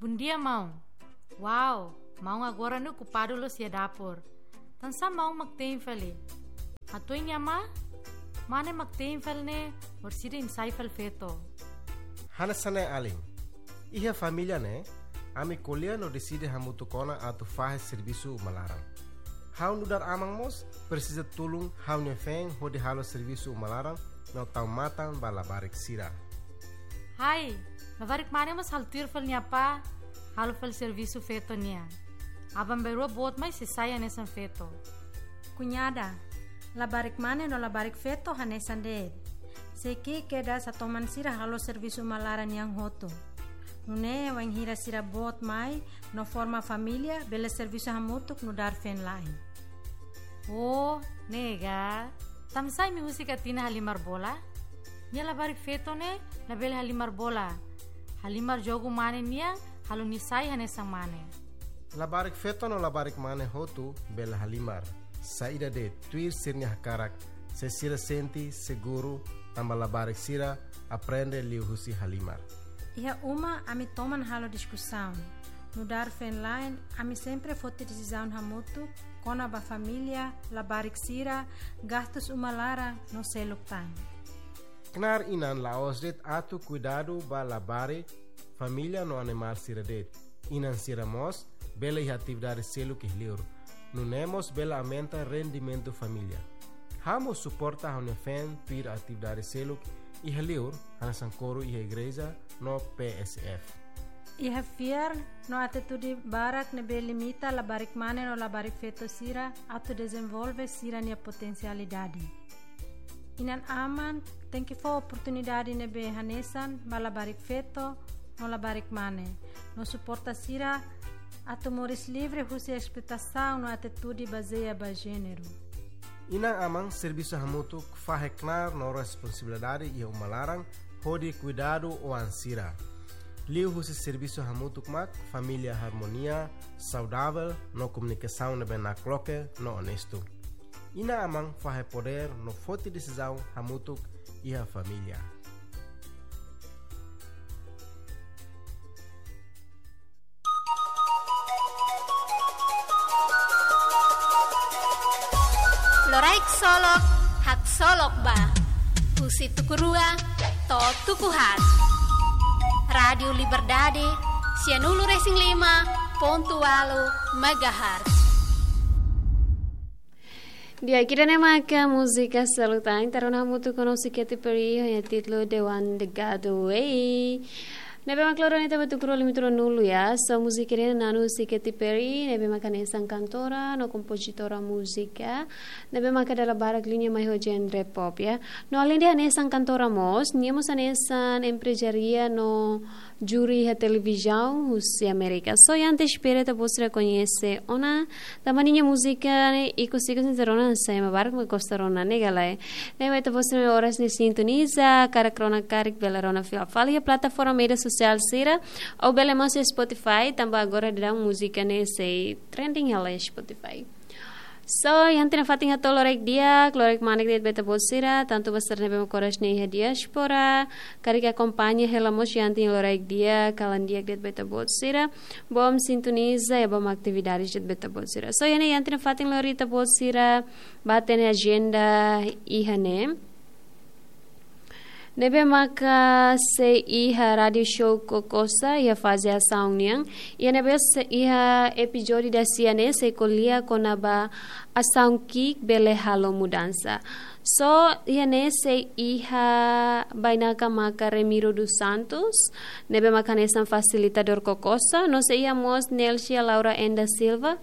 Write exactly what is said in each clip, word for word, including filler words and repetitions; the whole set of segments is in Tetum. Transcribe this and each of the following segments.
Bondia, maun. Wow, maun agora ne'e okupadu loos iha dapur. Tansá maun mak te'in fali? Hatuan nia amá, mane mak te'in fali ne'e, orsida imi sai fali feto. Hanesan ne'e alin. Iha família ne'e, ami ko'alia no deside hamutuk ona atu fahe servisu uma laran. Ha'u nu'udar aman mós presiza tulun ha'u-nia feen hodi halo servisu uma laran no tau matan ba labarik sira. Hai, labarik mane mós halo tuir fali nia apá, halo fali servisu feto nian. Aban-bainrua boot mai sei sai hanesan feto. Kuñada, labarik mane no labarik feto hanesan de'it. Sei ki'ik kedas atoman sira halo servisu uma laran nian hotu. Nune'e wainhira sira boot mai no forma família, bele servisu hamutuk nu'udar feen-la'en. Oh, ne'e ka. Tansá imi husik Atina halimar bola? Nia labarik feto ne'e labele halimar bola. Halimar jogu mane nian, halo nia sai hanesan mane. Labarik feto no labarik mane hotu bele halimar. Saida de'it, tuir sira-nia hakarak, se sira sente seguru, tanba labarik sira aprende liuhusi halimar. Iha uma ami toman halo diskusaun. Nu'udar feen-la'en, ami sempre foti desizaun hamutuk kona-ba família, labarik sira, gastus uma laran no seluk tan. Knaar inan la'ós de'it atu kuidadu ba labarik, família no animál sira de'it. Inan sira mós bele iha atividade seluk iha li'ur. Nune'e mós bele aumenta rendimentu família. Ha'u mós suporta ha'u-nia feen tuir atividade seluk iha li'ur, hanesan koru iha igreja no P S F. Iha fiar no atitude barak ne'ebé limita labarik mane no labarik feto sira atu dezenvolve sira-nia potensialidade. Inan-aman tenke fó oportunidade ne'ebé hanesan ba labarik feto no labarik mane, no suporta sira atu moris livre husi espletasaun no atitude bazeia ba jéneru. Inan-aman servisu hamutuk fahe knaar no responsabilidade iha uma laran hodi kuidadu oan sira. Liuhusi servisu hamutuk mak família harmonia, saudavel no komunikasaun ne'ebé nakloke no onestu. Inan-aman fahe podér no foti desizaun hamutuk iha família. Loraik Solok, haksolok ba. Husi tuku rua to'o tuku haat. Rádiu Liberdade, sianulu resin lima pontu ualu megahertz. Di'ak, ida-ne'e maka múzika Salutan, ita rona hamutuk ho Siquete Perry, ho nia títulu The One That Got Away. Ne'ebé mak loron ita ba tuku rua lima tolu nulu ya. So múzika ne'e na'an Siquete Perry, ne'ebé maka hanesan kantora no kompozitora múzika. Ne'ebé maka dala barak liña mai ho genre pop ya. No alende hanesan kantora mós, nia mós hanesan emprezária no júri iha televizaun husi Amérika. So, ita espera ita-boot sira koñese ona, tanba ninia múzika ne'e ikus-ikus ita rona, sai ema barak mak gosta rona, ne'e ka lae. Ne'ebé ita-boot sira oras ne'e sintoniza, karik rona karik bele rona fila fali iha plataforma média sosiál sira, ou bele mós iha Spotify, tanba agora daudaun múzika ne'e sei trending hela iha Spotify. So, iha ita-nia fatin hato'o loraik di'ak, loraik manek de'it ba ita-boot sira, tantu ba sira ne'ebé mak oras ne'e iha diáspora, karik akompaña hela mós iha ita-nia loraik di'ak, kalan di'ak de'it ba ita-boot sira, bom sintoniza, ya bom atividade de'it ba ita-boot sira. So, iha ne'e iha ita-nia fatin lori ita-boot sira, ba ita-nia ajenda iha ne'e. Ne'ebé maka sei iha rádiu show Kokosa, iha faze asaun nian. Iha ne'ebé sei iha epizódiu dasia ne'e sei ko'alia kona-ba asaun ki'ik bele halo mudansa. So, iha ne'e sei iha bainaka maka Remiro dos Santos, ne'ebé maka hanesan fasilitadór Kokosa, no sei iha mós Nelcia Laura Enda Silva,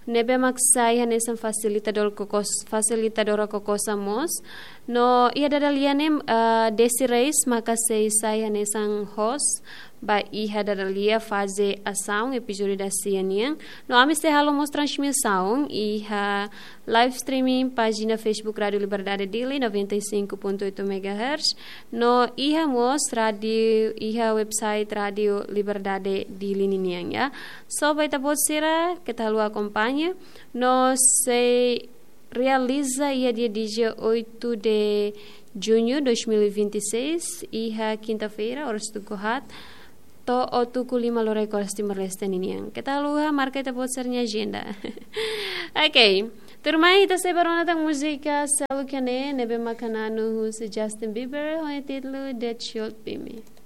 ne'ebé mak sai hanesan fasilitadór Kokos-, fasilitadora Kokosa mós. No iha dada lia ne'e, ah, Desi Reis maka sei sai hanesan host ba iha dada lia faze asaun epizódiu dasia nian. No ami sei halo mós transmisaun iha live streaming pájina Facebook Rádiu Liberdade Dili noventa e cinco ponto oito megahertz. No iha mós rádiu, iha website Rádiu Liberdade Dili ninian ya. So, ba ita-boot sira, keta haluha akompaña. No sei realiza iha dia dezoito de junho dois mil e vinte e seis, iha kinta-feira, oras tuku haat, to'o tuku lima loraik oras Timor-Leste ninian. Keta haluha marka ita-boot sira-nia ajenda. Ok. Tuirmai ita sei bá rona tan múzika seluk ne'e, ne'ebé maka na'an husi Justin Bieber, ho nia títulu That Should Be Me.